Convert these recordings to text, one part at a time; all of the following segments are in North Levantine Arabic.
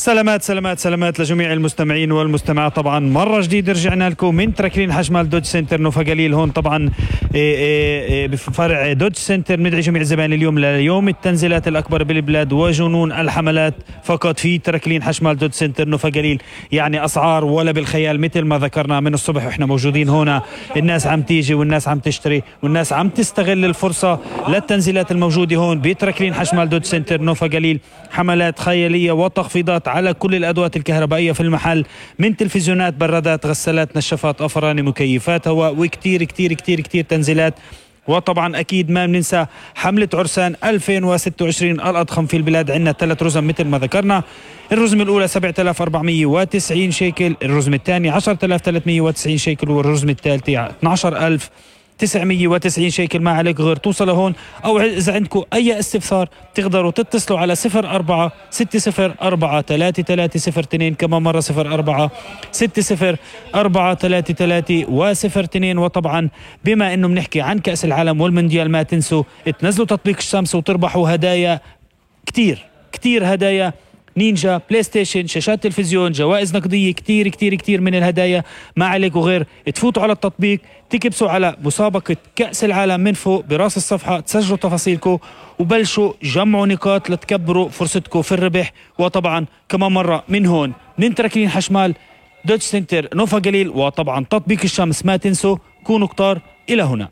سلامات لجميع المستمعين والمستمعات. طبعا مرة جديدة رجعنا لكم من تركلين حشمال دوج سنتر نوفا جليل. هون طبعا بفرع دوج سنتر ندعي جميع الزبائن اليوم ليوم التنزيلات الأكبر بالبلاد وجنون الحملات فقط في تركلين حشمال دوج سنتر نوفا جليل. يعني أسعار ولا بالخيال، مثل ما ذكرنا من الصبح وإحنا موجودين هنا. الناس عم تيجي والناس عم تشتري والناس عم تستغل الفرصة للتنزيلات الموجودة هون بتركلين حشمال دوج سنتر نوفا جليل. حملات خيالية وتخفيضات على كل الأدوات الكهربائية في المحل، من تلفزيونات، برادات، غسالات، نشافات، أفران، مكيفات هواء، وكتير كتير كتير كتير تنزيلات. وطبعا أكيد ما بننسى حملة عرسان 2026 الأضخم في البلاد. عندنا 3 رزم مثل ما ذكرنا. الرزمة الأولى 7490 شيكل، الرزمة الثانية 10390 شيكل، والرزمة الثالثة 12990 شيكل. ما عليك غير توصل هون، أو إذا عندكم أي استفسار تقدروا تتصلوا على 0460433302. كمان مرة 0460433302. وطبعا بما إنه بنحكي عن كأس العالم والمونديال، ما تنسوا تنزلوا تطبيق الشمس وتربحوا هدايا كتير هدايا: نينجا، بلاي ستيشن، شاشات تلفزيون، جوائز نقدية، كتير كتير كتير من الهدايا. ما عليكم غير تفوتوا على التطبيق، تكبسوا على مسابقة كأس العالم من فوق براس الصفحة، تسجلوا تفاصيلكم وبلشوا جمعوا نقاط لتكبروا فرصتكم في الربح. وطبعا كمان مرة من هون من تركلين حشمال دوج سنتر نوفا جليل وطبعا تطبيق الشمس، ما تنسوا كونوا كتار. إلى هنا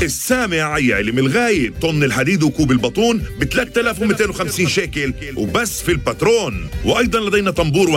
السامع يعلم الغايب. طن الحديد وكوب البطون ب 3250 شيكل وبس في الباترون. وأيضا لدينا طنبور